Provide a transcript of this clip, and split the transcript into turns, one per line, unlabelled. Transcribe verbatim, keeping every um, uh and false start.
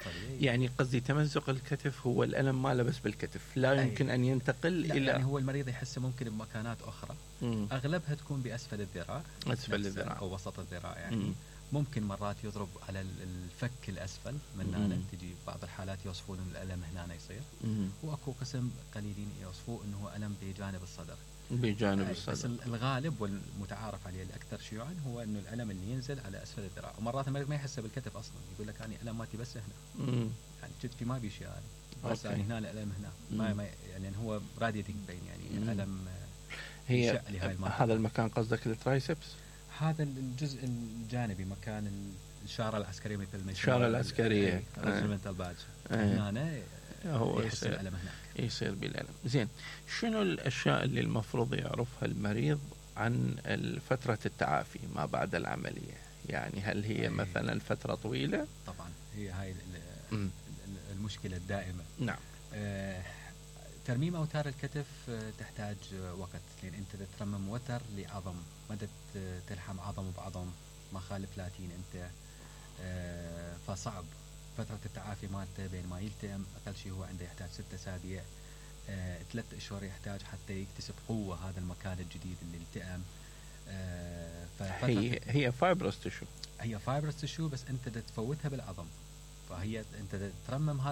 مفصلية.
يعني قصدي تمزق الكتف هو الألم ماله بس بالكتف، لا يمكن أن ينتقل
لا
إلى
يعني هو المريض يحسه ممكن بمكانات أخرى.
مم.
أغلبها تكون بأسفل الذراع،
أسفل الذراع
أو وسط الذراع يعني.
مم.
ممكن مرات يضرب على الفك الأسفل من هنا، تجي بعض الحالات يوصفون أن الألم هنا يصير.
مم.
وأكو قسم قليلين يوصفوه أنه ألم بجانب الصدر.
بجانب الصدر.
بس الغالب والمتعارف عليه الأكثر شيوعا هو أنه الألم اللي ينزل على أسفل الذراع، ومرات المريض ما يحسه بالكتف أصلا، يقول لك أنا ألم ماتي بس هنا.
مم.
يعني كتفي ما بيشي أنا، بس يعني هنا الألم هنا. ما, ما يعني هو راديتنج بين يعني
مم.
ألم.
هي هذا المكان قصدك الترايسبس؟
هذا الجزء الجانبي مكان الشارة العسكرية مثل ما
الشارة العسكرية
ريجمنتال بادج هنا
هو
يحس الألم هناك،
يصير بالألم. زين، شنو الأشياء اللي المفروض يعرفها المريض عن فترة التعافي ما بعد العملية؟ يعني هل هي مثلا فترة طويلة؟
طبعا هي هاي المشكلة الدائمة.
نعم.
آه ترميم أوتار الكتف تحتاج وقت، لأن أنت ترمم وتر لعظم، مدى تلحم عظم بعظم ما خالف ثلاثين أنت. آه فصعب فترة التعافي مالته بين ما يلتئم أقل شيء هو عنده يحتاج ستة أسابيع، آه ثلاث أشهر يحتاج حتى يكتسب قوة هذا المكان الجديد اللي التئم. آه
هي هي فايبروس تشو،
هي فايبروس تشو، بس أنت تفوتها بالعظم، فهي أنت ترمم هذا